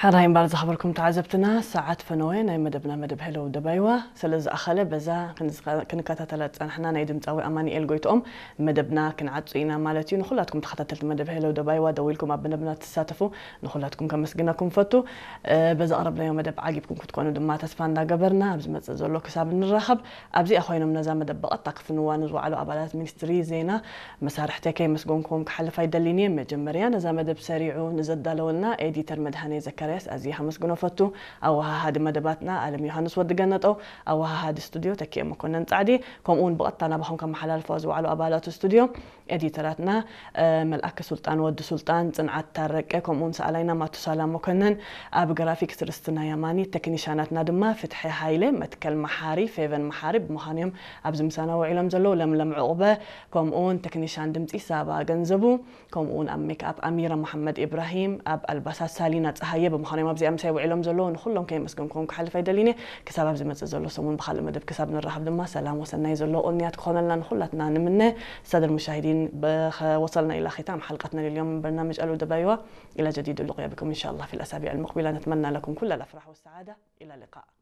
ሕራይ እምበር ዝኸበርኩም ተዓዘብትና፣ ሰዓት ፈነወ ናይ መደብና መደብ ሄሎ ደባይዋ ስለ ዝኣኸለ፣ በዛ ክንዝኸ-፣ ክንከታተላ ዝጸናሕና ናይ ድምጻዊ ኣማኑኤል ጎይትኦም መደብና ክንዓጹ ኢና ማለት እዩ። ንኹላትኩም ተኸታተልቲ መደብ ሄሎ ደባይዋ ደዊልኩም ኣብ መደብና ትሳተፉ ንኹላትኩም ከመስግነኩም ፈቱ። እ፣ በዛ ኣቕረብናዮ መደብ ዓጊብኩም ክትኮኑ ድማ ተስፋ እንዳገበርና፣ ኣብ ዝመጽእ ዘሎ ክሳብ እንራኸብ፣ ኣብዚኣ ኮይኖም ነዛ መደብ ብቐጥታ ክፍንዋ ንዝወዓሉ ኣባላት ሚኒስትሪ ዜና መሳርሕተይ ከየመስገንኩም ክሓልፍ ኣይደልን እየ። መጀመርያ ነዛ መደብ ሰሪዑ ንዘዳለወልና ኤዲተር መድሃኔ ዘካርያስ ኣዝየ ከመስግኖ ፈቱ። ኣወሃሃዲ መደባትና ኣለም ዮሃንስ ወዲ ገነጠው፣ ኣወሃሃዲ ስቱድዮ ተኪኤ መኮነን ጻዕዲ፣ ከምኡ እውን ብቐጥታ ናባኹም ከመሓላልፍዋ ዝወዓሉ ኣባላት ስቱድዮ፣ ኤዲተራትና፣ እ፣ መልኣከ ሱልጣን ወዲ ሱልጣን፣ ጽንዓት ታረቀ፣ ከምኡ እውን ሰኣላይና ማቱሳላ መኮነን፣ ኣብ ግራፊክስ ርስትና ያማኒ፣ ቴክኒሻናትና ድማ ፍትሒ ሃይለ፣ መትከል መሓሪ፣ ፌቨን መሓሪ ብምዃን እዮም ኣብዚ ምሳና ውዒሎም ዘለዉ። ለምለም ዕቑበ፣ ከምኡ እውን ቴክኒሻን ድምጺ ሳባ ገንዘቡ፣ ከምኡ እውን ኣብ ሜክኣፕ ኣሚራ መሓመድ ኢብራሂም፣ ኣብ ኣልባሳት ሳሊና ጸሃየ ብምዃን እዮም ኣብዚኣ ምሳይ ውዒሎም ዘለዉ። ንኹሎም ከየመስገንኩም ክሓልፍ ኣይደልን እየ። ክሳብ ኣብ ዝመጽእ ዘሎ ሰሙን ብኻልእ መደብ ክሳብ ንራኸብ ድማ ሰላም ወሰናይ ዘለዎ ቅንያት ክኾነልና ንኹላትና ንምነ። ሳድር ሙሻሂዲን፣ በኸ-፣ ወሰልና ኢላ ኺታም ሓልቀትና ልልዮም በርናምጅ ኣሉ ደባይዋ። ኢላ ጀዲዱ ልቁያ ብኩም ኢንሻአላህ ፊል ኣሳቢዕ ልሙቅቢላ። ነትመና ለኩም ኩለ ልኣፍራሕ ወሰዓዳ። ኢላ ልቃእ።